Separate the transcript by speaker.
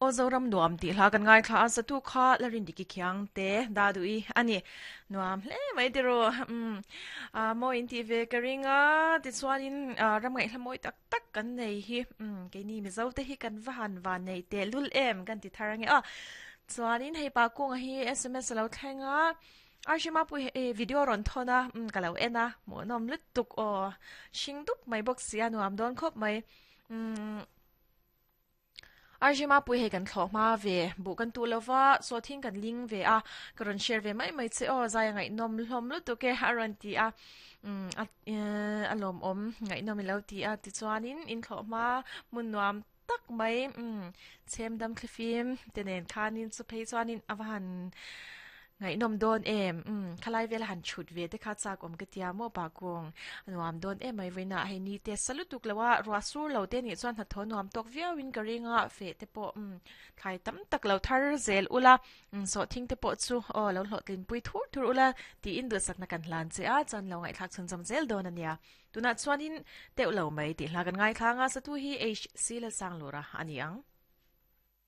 Speaker 1: Aw Zoram nuam tih hla kan ngaithla a, satu kha la Rindiki Khiang te da duh i a ni. Nuam hle mai tiraw. Umm a mawi in tih ve ka ring a, tichuanin ram ngaihhla mawi tak tak kan nei hi umm keini Mizo te hi kan va han van nei tehlul em kan ti thar ange aw. Chuanin hei pa kunga hi sms a lo thleng a, Arshima pawh hi video rawn thawn a, umm ka lo en a, hmuhnawm lutuk aw. Hring dup mai bawk si a nuam dawn khawp mai. Umm. Arjima pui hei kan thlawh hma ve, buh kan tuh lova, sawhthing kan ling ve a, ka rawn share ve mai mai che aw, zai a ngaihnawm hlawm lutuk e a rawn ti a, umm a lawmawm ngaihnawm i lo ti a, tichuanin in thlawh hma hmun nuam tak mai umm chhem dam thlifim te nen khanin chu phei chuanin a va han Ngaihnawm dawn em? Umm, khalai vela han chhut ve te kha chak awm ka tia maw pa kung. A nuam dawn em mai vawiinah hei ni te sa lutuk lo a, ruah sur lo te nih chuan hnathawh nuam tawk viau in ka ring a, feh te pawh umm thlai tam tak lo thar zel ula, umm sawhthing te pawh chu aw lo hlawhtlin pui thur thur ula tiin duhsakna kan hlan che a, chuan lo ngaihthlak chhunzawm zel dawn a nia. Tunah chuanin teuh lo mai tih hla kan ngaithla ang a, satu hi HC Lalsanglura a ni ang.